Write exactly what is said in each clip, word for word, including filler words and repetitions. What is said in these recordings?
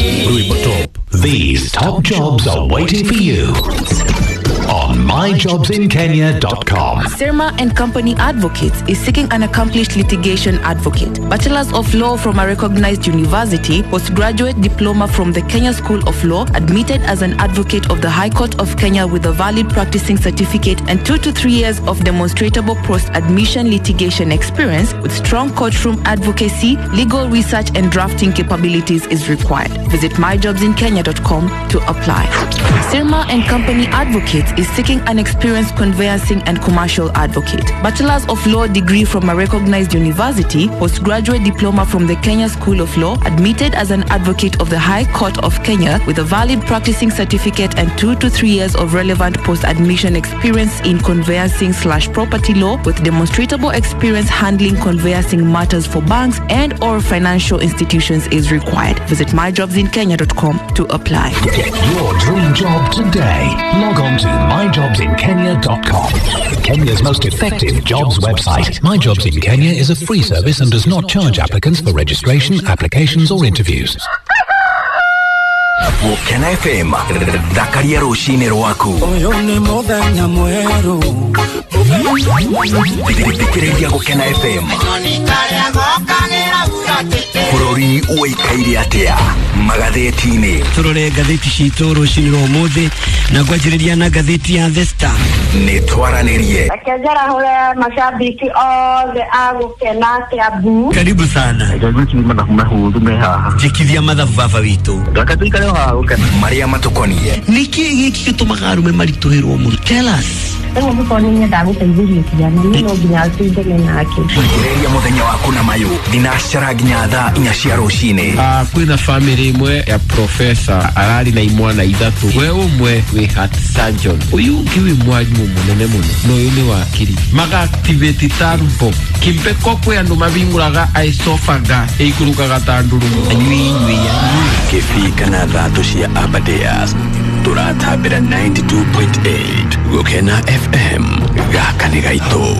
Rwimbo top. These top jobs are waiting for you on my jobs in kenya dot com. Sirma and Company Advocates is seeking an accomplished litigation advocate. Bachelor's of Law from a recognized university, postgraduate diploma from the Kenya School of Law, admitted as an advocate of the High Court of Kenya with a valid practicing certificate and two to three years of demonstrable post-admission litigation experience with strong courtroom advocacy, legal research and drafting capabilities is required. Visit my jobs in kenya dot com to apply. Sirma and Company Advocates is seeking an experienced conveyancing and commercial advocate. Bachelor's of Law degree from a recognized university, postgraduate diploma from the Kenya School of Law, admitted as an advocate of the High Court of Kenya with a valid practicing certificate and two to three years of relevant post-admission experience in conveyancing slash property law with demonstrable experience handling conveyancing matters for banks and or financial institutions is required. Visit my jobs in kenya dot com to apply. Get your dream job today. Log on to my jobs in kenya dot com. Kenya's most effective jobs website. My Jobs in Kenya is a free service and does not charge applicants for registration, applications or interviews. Gũkena F M, thakaria rũcinĩ rwaku. Ũyũ nĩ mũthenya mwerũ. Thikĩrĩria Gũkena F M. Bũrũri ũikaire atĩa magathĩti-inĩ? Tũrore ngathĩti citũ rũcinĩ rwa ũmũthĩ na ngwanjĩrĩria na ngathĩti ya The Star. Nĩ twaranĩrie. Reke njarahũre mashabiki othe a Gũkena Kiambu. Karibu sana. Reke ngwĩciria mathabu mahũthũ me haha. Njĩkithia mathabu baba witũ. Reke tũikare o haha Gũkena. Marĩa matũkoniĩ. Nĩkĩ gĩkĩ gĩtũmaga arũme maritũhĩrwo mũno? Tell us. Rĩu mũkorwo nĩ nyendaga gũteithĩrĩria ciana, niĩ no nginya tũindane nake. Thikĩrĩria mũthenya waku na mayũ thinacara nginya thaa inya cia rũcinĩ. Ah, kwĩna family ĩmwe ya professor ararĩ na imwana ithatũ, we ũmwe wĩ heart surgeon, ũyũ ũngĩ wĩ mwarimũ mũnene mũno, na ũyũ nĩ wakiri. Maga activate turbo kimpeko kwĩ andũ mabingũraga esophagus ĩikũrũkaga ta ndurumo. Anyui inyui anyui. Kĩbii kana thatũ cia Aberdares tũratambĩra ninety-two point eight Gũkena F M gaka nĩ gaitũ.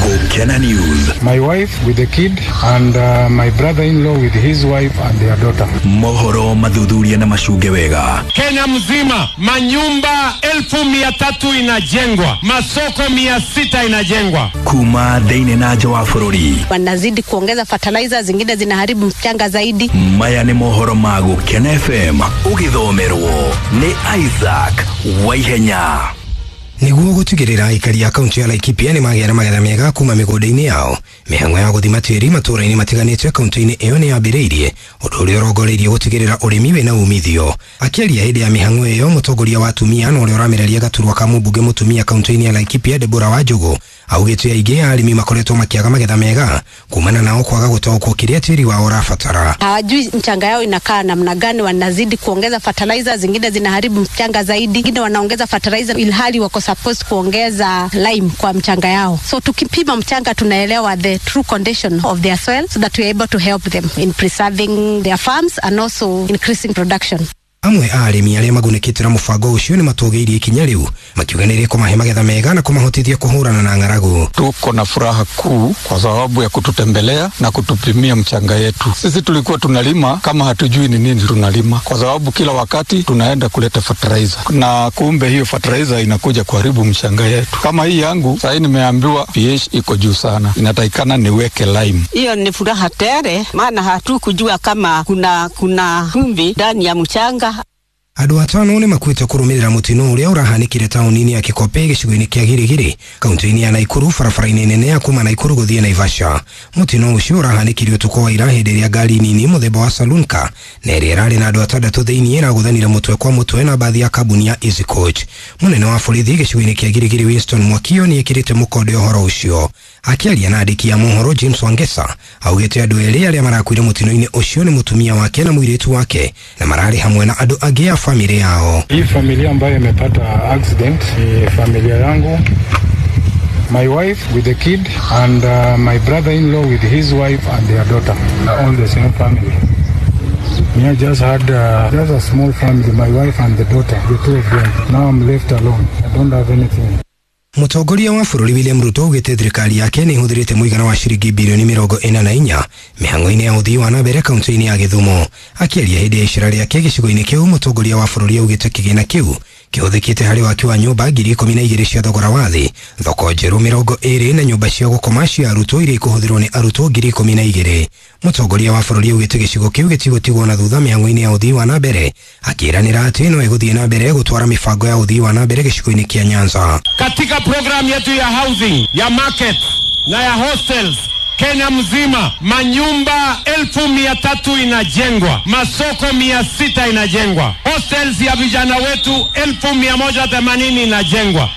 Gũkena News. My wife with the kid and, uh, my brother-in-law with his wife and their daughter. Mohoro mathuthuria na macunge wega. Kenya mzima manyumba elfu mia tatu inajengwa, masoko mia sita inajengwa. Kuma thĩinĩ na nja wa bũrũri. Wanazidi kuongeza fertilizer, zingine zinaharibu mchanga zaidi. Maya nĩ mohoro ma Gũkena F M ũgĩthomerwo nĩ Isaac Waihenya. Nĩguo gũtigĩrĩra aikari a kaunti ya Laikipia nĩ magĩa na magetha mega kuma mĩgũnda-inĩ yao, mĩhang'o ya gũthima tĩĩri matũũra-inĩ matiganĩte kaunti-inĩ ĩyo nĩ yambĩrĩirie, ũndũ ũrĩa ũrongoreirie gũtigĩrĩra ũrĩmi wĩna umithio. Akĩaria hĩndĩ ya mĩhang'o ĩyo, mũtongoria wa atumia na ũrĩa ũramereria gaturwa ka mũmbunge mũtumia kaunti-inĩ ya Laikipia Deborah Wanjũgũ augĩte aingĩ a arĩmi makoretwo makĩaga magetha mega kumana nao kwaga gũtaũkwo kĩrĩa tĩĩri wao ũrabatara. Hawajui mchanga yao inakaa namna gani, wanazidi kuongeza fertilizer, zingine zinaharibu mchanga zaidi, wengine wanaongeza fertilizer ilhali wako supposed kuongeza lime kwa mchanga yao. So tukipima mchanga tunaelewa the true condition of their soil so that we are able to help them in preserving their farms and also increasing production. Amwe a arĩmi arĩa magunĩkĩte na mũbango ũcio nĩ matũgĩirie ikinya rĩu makiuga nĩ rĩkũmahe magetha mega na kũmahotithia kũhũrana na ng'aragu. Tuko na furaha kuu kwa sababu ya kututembelea na kutupimia mchanga yetu. Sisi tulikuwa tunalima kama hatujui ni nini tunalima, kwa sababu kila wakati tunaenda kuleta fertilizer na kumbe hiyo fertilizer inakuja kuharibu mchanga yetu. Kama hii yangu sasa nimeambiwa pH iko juu sana, inatakikana niweke lime. Hiyo ni furaha tele, maana hatukujua kama kuna kuna chumvi ndani ya mchanga. Andũ atano nĩ makuĩte kũrũmĩrĩra mũtino ũrĩa ũrahanĩkire taũni-inĩ ya Kĩkope gĩcigo-inĩ kĩa Girigiri kaunti-inĩ ya Naikuru barabara-inĩ nene ya kuma Naikuru gũthiĩ Naivasha. Mũtino ũcio ũrahanĩkire ũtukũ wa ira hĩndĩ ĩrĩa ngari nini mũthemba wa saloon car na ĩrĩa ĩrarĩ na andũ atandatũ thĩinĩ ĩragũthanire mũtwe kwa mũtwe na bathi ya kambuni ya Easy Coach. Mũnene wa borithi gĩcigo-inĩ kĩa Girigiri Winston Mwakio nĩ ekĩrĩte mũkonde ũhoro ũcio. Akĩaria na andĩki a mohoro James Wangesa augĩte andũ erĩ arĩa marakuire mũtino-inĩ ũcio nĩ mũtumia wake na mũirĩtu wake na mararĩ hamwe na andũ angĩ a familia yao. Hii familia ambayo imepata accident ni familia yangu, my wife with the kid and, uh, my brother-in-law with his wife and their daughter, all the same family. Me, I just had, uh, just a small family, my wife and the daughter, the two of them. Now I'm left alone. I don't have anything. Mũtongoria wa bũrũri William Ruto augĩte thirikari yake nĩ ĩhũthĩrĩte mũigana wa ciringi bilioni mĩrongo ĩna na inya mĩhang'o-inĩ ya ũthii wa na mbere kaunti-inĩ ya Gĩthumo. Akĩaria hĩndĩ ya icera rĩake gĩcigo-inĩ kĩu, mũtongoria wa bũrũri augĩte kĩgĩna kĩu kĩhũthĩkĩte harĩ waki wa nyũmba ngiri ikũmi na igĩrĩ cia thogora wa thĩ, thoko njerũ mĩrongo ĩrĩ na nyũmba cia gũkoma cia arutwo iria ikũhũthĩrwo nĩ arutwo ngiri ikũmi na igĩrĩ. Mũtongoria wa bũrũri augĩte gĩcigo kĩu gĩtigũtigwo na thutha mĩhang'o-inĩ ya ũthii wa na mbere, akĩĩranĩra atĩ no ĩgũthiĩ na mbere gũtwara mĩbango ya ũthii wa na mbere gĩcigo-inĩ kĩa Nyanza. Katika program yetu ya housing, ya market na ya hostels Kenya mzima, manyumba elfu mia tatu inajengwa, masoko mia sita inajengwa, hostels ya vijana wetu elfu mia moja themanini inajengwa.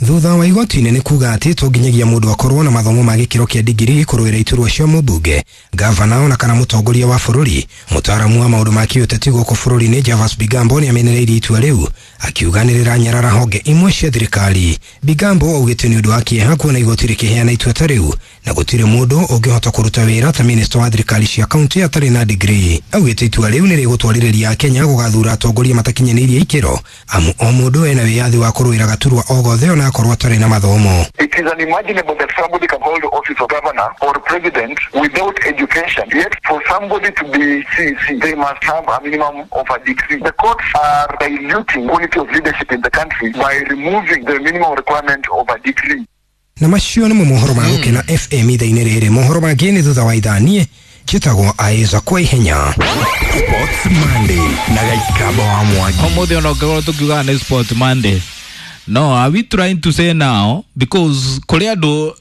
Thutha wa igoti inene kuga atĩ to nginyagia mũndũ akorwo na mathomo ma gĩkĩro kĩa digiri kũrũĩra iturwa cia mũmbunge, gavana ona kana mũtongoria wa bũrũri. Mũtaaramu wa maũndũ ma kĩũteti gũkũ bũrũri-inĩ Javas Bigambo nĩ amenereirie itua rĩu, akiuga nĩ rĩranyarara honge imwe cia thirikari. Bigambo augĩte nĩ ũndũ wa kĩeha kuona igoti rĩkĩheana itua ta rĩu na gũtirĩ mũndũ ũngĩhota kũruta wĩra ta minista wa thirikari cia kaunti atarĩ na digiri. Augĩte itua rĩu nĩ rĩgũtwarĩrĩria Akenya gũgathura atongoria matakinyanĩirie ikĩro, amu o mũndũ ena wĩyathi wa kũrũĩra gaturwa o gothe ona akorwo atarĩ na mathomo. It is unimaginable that somebody can hold the office of governor or president without education. Yet for somebody to be C C, they must have a minimum of a degree. The courts are diluting quality of leadership in the country by removing the minimum requirement of a degree. Na macio nĩmo mohoro ma Gũkena F M ithaa-inĩ rĩrĩ. Mohoro mangĩ nĩ thutha wa ithaa. Niĩ njĩtagwo Aiza kwa ihenya. Sports Monday na Gaikaba wa Mwangi. Ũmũthĩ ona ũngĩkorwo tũkiugaga nĩ Sport Monday. No, are we trying to say now, because kũrĩ andũ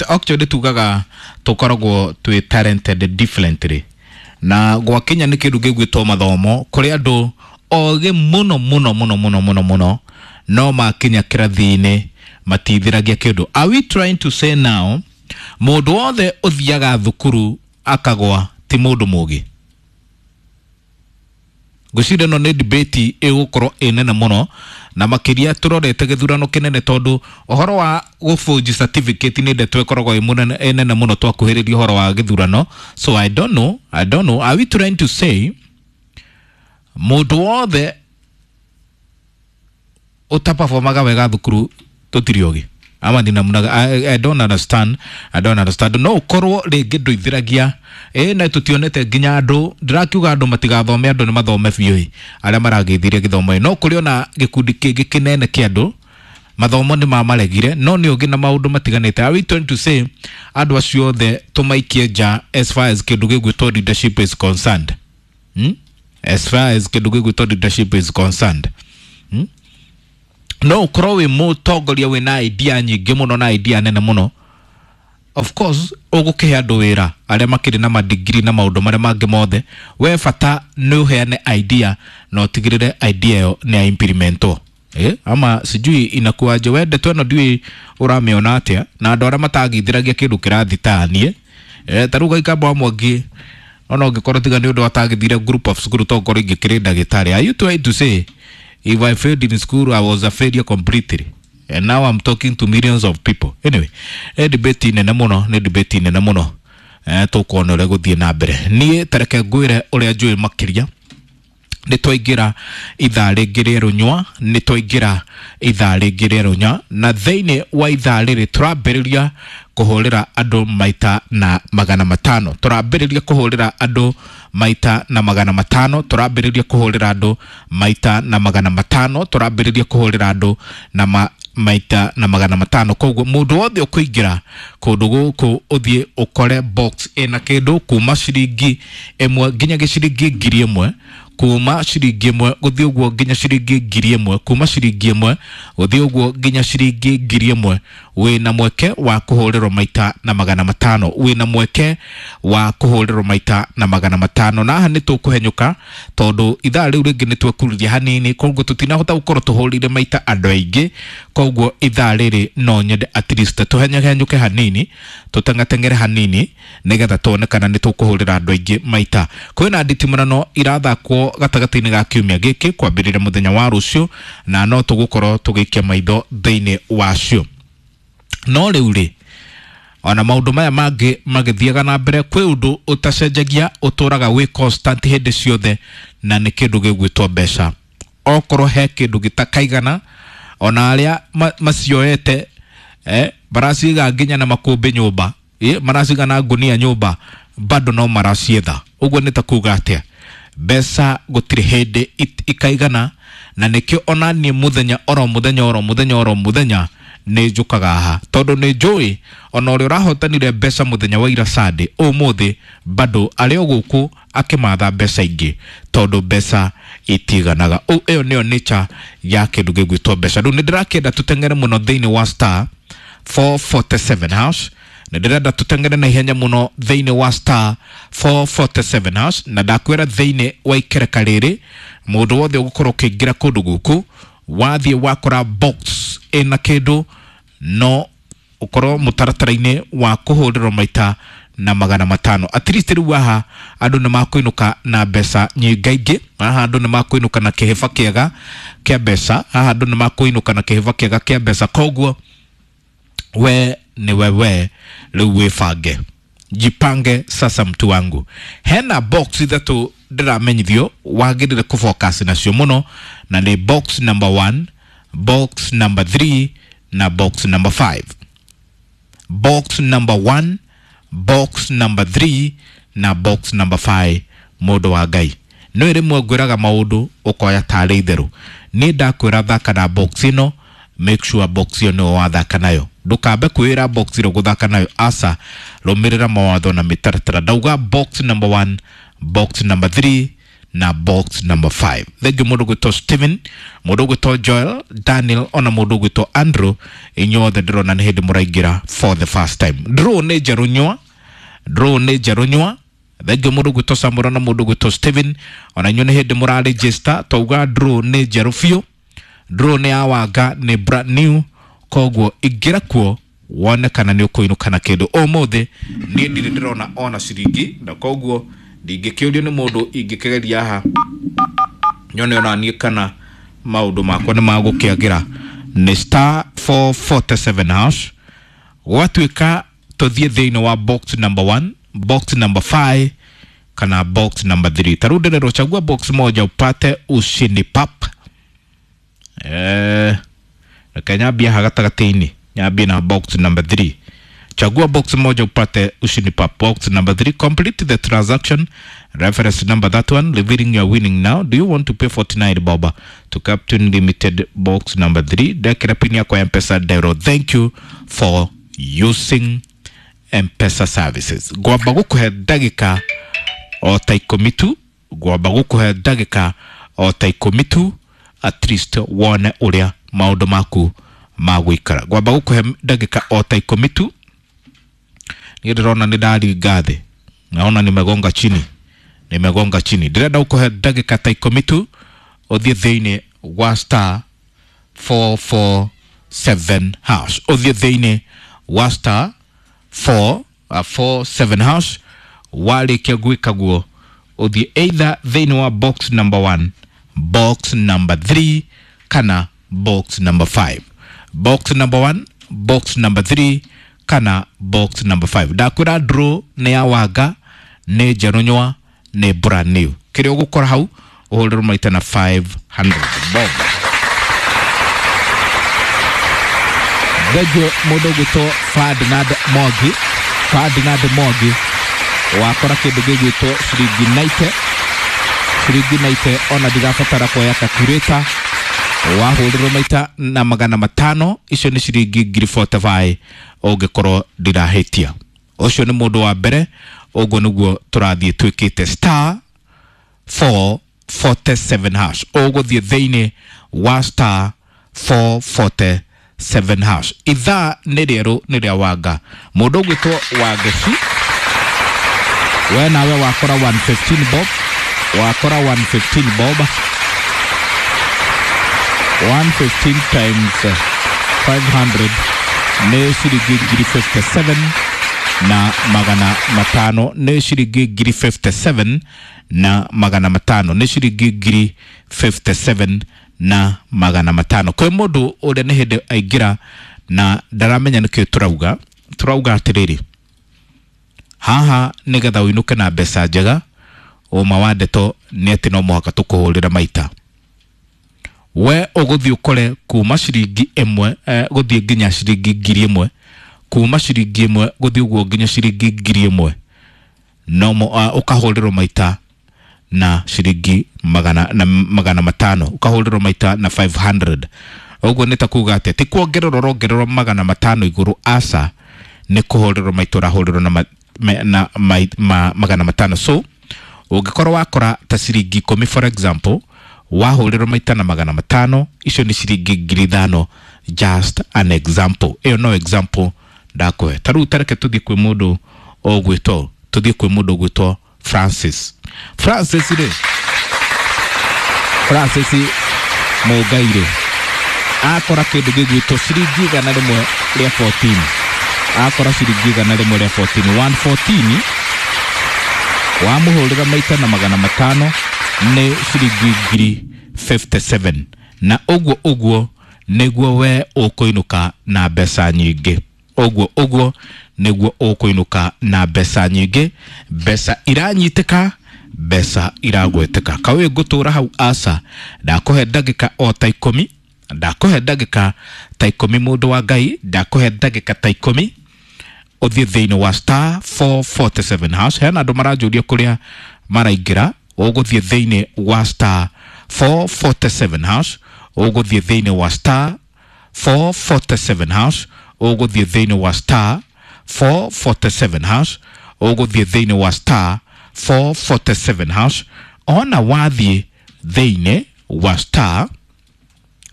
actually tugaga tũkoragwo twĩ talented differently, na gwakinya nĩ kĩndũ gĩgwĩtwo mathomo, kũrĩ andũ ogĩ mũno mũno mũno mũno mũno mũno no makinya kĩrathi-inĩ matithiragia kĩndũ. Are we trying to say now mũndũ wothe ũthiaga thukuru akagwa ti mũndũ mũgĩ? Ngwĩciria ĩno nĩ debate ĩgũkorwo ĩ nene mũno, na makĩria tũrorete gĩthurano kĩnene, tondũ ũhoro wa gũbũnji certificate nĩ ndeto ĩkoragwo ĩ mũnene ĩ nene mũno twakuhĩrĩria ũhoro wa gĩthurano. So I don't know, I don't know. Are we trying to say mũndũ wothe ũtaperformaga wega thukuru tũtirĩ ogĩ? Ama ndina munaga? I, I don't understand, I don't understand. No ũkorwo rĩngĩ ndũithiragia ĩ na tũtionete nginya andũ, ndĩrakiuga andũ matigathome, andũ nĩ mathome biũ arĩa maragĩthirie gĩthomo, no kũrĩ ona gĩkundi kĩngĩ kĩnene kĩa andũ mathomo nĩ mamaregire, no nĩ ũngĩ na maũndũ matiganĩte. Are we trying to say andũ acio othe tũmaikie nja as far as kĩndũ gĩgwĩtwo leadership is concerned? Hmm? As far as kĩndũ gĩgwĩtwo leadership is concerned, hmm? No ũkorwo wĩ mũtongoria wĩna idea nyingĩ mũno na idea nene mũno, of course ũgũkĩhe andũ wĩra arĩa makĩrĩ na madigiri na maũndũ marĩa mangĩ mothe, we bata nĩ ũheane idea na ũtigĩrĩre idea ĩyo nĩ ya implementwo. Eh, ama sijui inakuwaje, we ndeto ĩno ndiũĩ ũramĩona atĩa, na andũ arĩa matagithiragia kĩndũ kĩrathi ta niĩ, eh, ta rĩu Gaikamba wa Mwangi ona ũngĩkorwo tiga nĩ ũndũ atagithire group of school to ngorwo ingĩkĩrĩ ndagĩtarĩ. Are you trying to say if I failed in school I was a failure completely, and now I'm talking to millions of people? Anyway, eh, debate nene mũno, nĩ debate nene mũno, eh, tũkuona ũrĩa gũthiĩ na mbere. Niĩ tareke ngwĩre ũrĩa njũĩ makĩria. Nĩ twaingĩra ithaa rĩngĩ rĩa rũnyua, nĩ twaingĩra ithaa rĩngĩ rĩa rũnyua, na thĩinĩ wa ithaa rĩrĩ tũrambĩrĩria kũhũrĩra andũ maita na magana matano. Tũrambĩrĩria kũhũrĩra andũ maita na magana matano, tũrambĩrĩria kũhũrĩra andũ maita na magana matano, tũrambĩrĩria kũhũrĩra andũ na ma maita na magana matano. Koguo mũndũ wothe ũkũingĩra kũndũ gũkũ ũthiĩ ũkore box ĩna kĩndũ kuma ciringi ĩmwe nginya gĩciringi ngiri ĩmwe, kuma ciringi ĩmwe gũthiĩ ũguo nginya ciringi ngiri ĩmwe, kuma ciringi ĩmwe gũthiĩ ũguo nginya ciringi ngiri ĩmwe, wĩna mweke wa kũhũrĩrwo maita na magana matano, wĩna mweke wa kũhũrĩrwo maita na magana matano. Na haha nĩ tũkũhenyũka tondũ ithaa rĩu rĩngĩ nĩ twekururia hanini, koguo tũtinahota gũkorwo tũhũrĩire maita andũ aingĩ, koguo ithaa rĩrĩ no nyende at least tũhenyahenyũke hanini, tũteng'ateng'ere hanini nĩgetha tuone kana nĩ tũkũhũrĩra andũ aingĩ maita. Kwĩna nditimũrano irathakwo gatagatĩ-inĩ ga kiumia gĩkĩ kwambĩrĩria mũthenya wa rũciũ, na no tũgũkorwo tũgĩikia maitho thĩinĩ wacio. No rĩu rĩ, ona maũndũ maya mangĩ magĩthiaga na mbere, kwĩ ũndũ ũtacenjagia, ũtũraga wĩ constant hĩndĩ ciothe, na nĩ kĩndũ gĩgwĩtwo mbeca. Okorwo he kĩndũ gĩtakaigana, ona arĩa macioete eh maraciga nginya na makumbi nyumba, eh maraciga na ngunia nyumba, bado no maracietha. Uguo nĩ ta kuga atia, mbeca gũtirĩ hĩndĩ ikaigana, na nĩkĩo ona niĩ mũthenya oro mũthenya oro mũthenya oro mũthenya nĩ njũkaga haha, tondũ nĩ njũĩ ona ũrĩa ũrahotanire mbeca mũthenya wa ira Sunday, ũmũthĩ bado arĩ o gũkũ akĩmatha mbeca ingĩ, tondũ mbeca itiganaga. Ĩyo nĩyo nature ya kĩndũ gĩgwĩtwo mbeca. Rĩu nĩ ndĩrakĩenda tũteng'ere mũno thĩinĩ wa star four forty-seven hash, na ndĩrenda tũteng'ere na ihenya mũno thĩinĩ wa star four forty-seven hash, na ndakwĩra thĩinĩ wa ikereka rĩrĩ mũndũ wothe ũgũkorwo ũkĩingĩra kũndũ gũkũ, wathiĩ wakora box ĩna kĩndũ no ũkorwo mũtaratara-inĩ wa kũhũrĩrwo maita na magana matano. At least rĩu haha andũ nĩ makũinũka na mbeca nyingaingĩ, haha andũ nĩ makũinũka na kĩhĩba kĩega kĩa mbeca, haha andũ nĩ makũinũka na kĩhĩba kĩega kĩa mbeca. Koguo we ni wewe rĩu wĩbange, jipange sasa mtu wangu. Hena box ithatũ ndĩramenyithio wagĩrĩire kũfocus nacio mũno, na nĩ box number one, box number three na box number five. Box number one, box number three na box number five. Mũndũ wa Ngai, no rĩmwe ngwĩraga maũndũ ũkoya tarĩ itherũ. Niĩ ndakwĩra thaka na box ĩno, make sure box ĩyo nĩyo wathaka nayo, ndũkambe kwĩra box ĩrĩa ũgũthaka nayo, aca, rũmĩrĩra mawatho na mĩtaratara. Ndauga box number one, box number three na box number five. Thengiũ mũndũ ũgwĩtwo Steven, mũndũ ũgwĩtwo Joel, Daniel ona mũndũ ũgwĩtwo Andrew, inyuothe ndĩrona nĩ hĩndĩ mũraingĩra for the first time. Draw nĩ njerũ nyua, draw nĩ njerũ nyua. Thengiũ mũndũ ũgwĩtwo Samuel na mũndũ ũgwĩtwo Steven, ona inyuĩ nĩ hĩndĩ mũraregister. Twauga draw nĩ njerũ biũ, draw nĩ ya Wanga, nĩ brand new, koguo ingĩra kuo wone kana nĩ ũkũinũka na kĩndũ. Ũmũthĩ niĩ ndirĩ ndĩrona ona ciringi, na koguo ndingĩkĩũrio nĩ mũndũ ingĩkĩgeria haha nyone ona niĩ kana maũndũ makwa nĩ magũkĩagĩra. Nĩ star four forty-seven hash. Gwatuĩka tũthiĩ thĩinĩ wa box number one, box number five kana box number three. Ta rĩu ndĩrerwo chagua box moja upate ushindi pap. Eh, reke nyambie haha gatagatĩ-inĩ, nyambie na box number three. Chagua box moja upate ushindi pap. Box number three, complete the transaction. Reference number that one, revealing your winning now. Do you want to pay forty-nine bob to Captain Limited box number three? Dekera pin yako ya M-Pesa Dero. Thank you for using M-Pesa services. Gwamba gũkũhe ndagĩka o ta ikũmi tu, gwamba gũkũhe ndagĩka o ta ikũmi tu, at least wone ũrĩa maũndũ maku magũikara. Gwamba gũkũhe ndagĩka o ta ikũmi tu. Niĩ ndĩrona nĩ ndaringa thĩ, naona nimegonga chini, nimegonga chini. Ndĩrenda gũkũhe ndagĩka ta ikũmi tu ũthiĩ thĩinĩ wa star four four seven hash, ũthiĩ thĩinĩ wa star four four seven hash. Warĩkia gwĩka guo ũthiĩ either thĩinĩ wa box number one, box number three kana box number five. Box number one, box number three kana box number five. Ndakwĩra draw nĩ ya Wanga, nĩ njerũ nyua, nĩ brand new. Kĩrĩa ũgũkora hau ũhũrĩrwo maita na five hundred bob. Thengiũ mũndũ ũgwĩtwo Ferdinand Mwangi, Ferdinand Mwangi wakora kĩndũ gĩgwĩtwo ciringi ninety, ciringi ninety ona ndigabatara kuoya calculator. Wahũrĩrwo maita na magana matano, icio nĩ ciringi ngiri forty-five ũngĩkorwo ndirahĩtia. Ũcio nĩ mũndũ wa mbere. Ũguo nĩguo tũrathiĩ twĩkĩte star four forty-seven hash. Ũgũthiĩ thĩinĩ wa star four forty-seven hash. Ithaa nĩ rĩerũ nĩ rĩa Wanga. Mũndũ ũgwĩtwo Wangeci, we nawe wakora one fifteen bob, wakora one fifteen bob, one fifteen times five hundred nĩ ciringi ngiri fifty-seven na magana matano, nĩ ciringi ngiri fifty-seven na magana matano, nĩ ciringi ngiri fifty-seven na magana matano. Kwĩ mũndũ ũrĩa nĩ hĩndĩ aingĩra na ndaramenya nĩkĩo tũrauga, tũrauga atĩrĩrĩ, haha nĩgetha ũinũke na mbeca njega, ũma wa ndeto nĩ atĩ no mũhaka tũkũhũrĩre maita. We ũgũthiĩ ũkore kuma ciringi ĩmwe eh, gũthiĩ nginya ciringi ngiri ĩmwe, kuma ciringi ĩmwe gũthiĩ ũguo nginya ciringi ngiri ĩmwe, no uh, ũkahũrĩrwo maita na ciringi magana, na magana matano, ũkahũrĩrwo maita na five hundred. Ũguo nĩ ta kuga atĩa? Ti kuongererwo ũrongererwo magana matano igũrũ, aca, nĩ kũhũrĩrwo maita ũrahũrĩrwo na, ma, na ma, ma, magana matano. So ũngĩkorwo wakora ta ciringi ikũmi for example, wahũrĩrwo maita na magana matano, icio nĩ ciringi ngiri ithano. Just an example, ĩyo no example ndakũhe. Ta rĩu tareke tũthiĩ kwĩ mũndũ ũgwĩtwo tũthiĩ kwĩ mũndũ ũgwĩtwo Francis. Francis rĩ, Francis Mũngai rĩ, akora kĩndũ gĩgwĩtwo ciringi igana rĩmwe rĩa fourteen, akora ciringi igana rĩmwe rĩa fourteen, one fourteen, wamũhũrĩra maita na magana matano nĩ ciringi ngiri fifty seven. Na ũguo ũguo nĩguo we ũkũinũka na mbeca nyingĩ. Ũguo ũguo nĩguo ũkũinũka na mbeca nyingĩ, mbeca iranyitĩka, mbeca iragweteka. Kaũĩ ngũtũra hau aca, ndakũhe ndagĩka o ta ikũmi, ndakũhe ndagĩka ta ikũmi mũndũ wa Ngai, ndakũhe ndagĩka ta ikũmi ũthiĩ thĩinĩ wa star four forty seven hash. Hena andũ maranjũria kũrĩa maraingĩra, ũgũthiĩ thĩinĩ wa star four forty seven hash, ũgũthiĩ thĩinĩ wa star four forty seven hash, ũgũthiĩ thĩinĩ wa star four forty seven hash, ũgũthiĩ thĩinĩ wa star four forty seven hash. Ona wathiĩ thĩinĩ wa star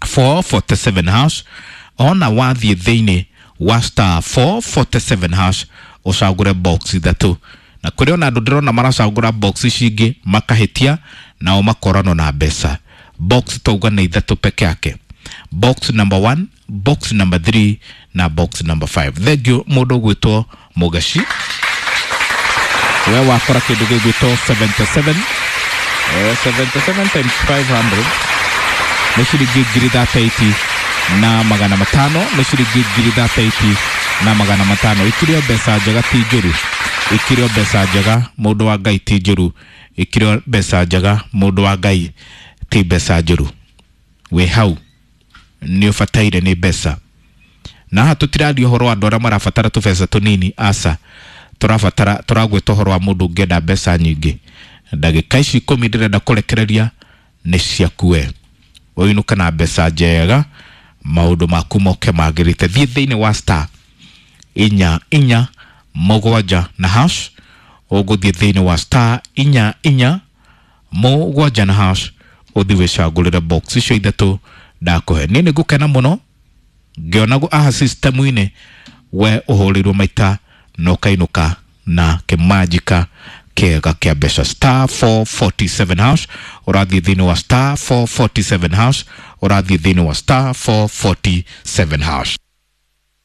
four forty seven hash, ona wathiĩ thĩinĩ wa star four forty seven hash, ũcagũre box ithatũ. Na kũrĩ ona andũ ndĩrona maracagũra box ici ingĩ makahĩtia, nao makoranwo na mbeca. Box tauga nĩ ithatũ peke yake, box number one, box number three na box number five. Thank you mũndũ ũgwĩtwo Mũgaci, we wakora kĩndũ gĩgwĩtwo seventy seven, eh, seventy seven times five hundred nĩ ciringi ngiri thirty eight na magana matano, nĩ ciringi ngiri thirty eight na magana matano. Ikirio mbeca njega ti njũru, ikirio mbeca njega mũndũ wa Ngai ti njũru, ikirio mbeca njega mũndũ wa Ngai ti mbeca njũru. Wĩ hau nĩ ũbataire nĩ mbeca. Na haha tũtiraria ũhoro wa andũ arĩa marabatara tũbeca tũnini, aca, tũrabatara tũragwĩta ũhoro wa mũndũ ũngĩenda mbeca nyingĩ. Ndagĩka ici ikũmi ndĩrenda kũrekereria nĩ ciaku we, ũinũke na mbeca njega, maũndũ maku moke magĩrĩte. Thiĩ thĩinĩ wa star inya inya mũgwanja na hash, ũgũthiĩ thĩinĩ wa star inya inya mũgwanja na hash, ũthiĩ wĩcagũrĩre box icio ithatũ ndakũhe. Niĩ nĩ ngũkena mũno ngĩona aha system-inĩ we ũhũrĩirwo maita na ũkainũka na kĩmanjika kĩega kĩa mbeca. Star four forty seven hash, ũrathiĩ thĩinĩ wa star four forty seven hash, ũrathiĩ thĩinĩ wa star four forty seven hash.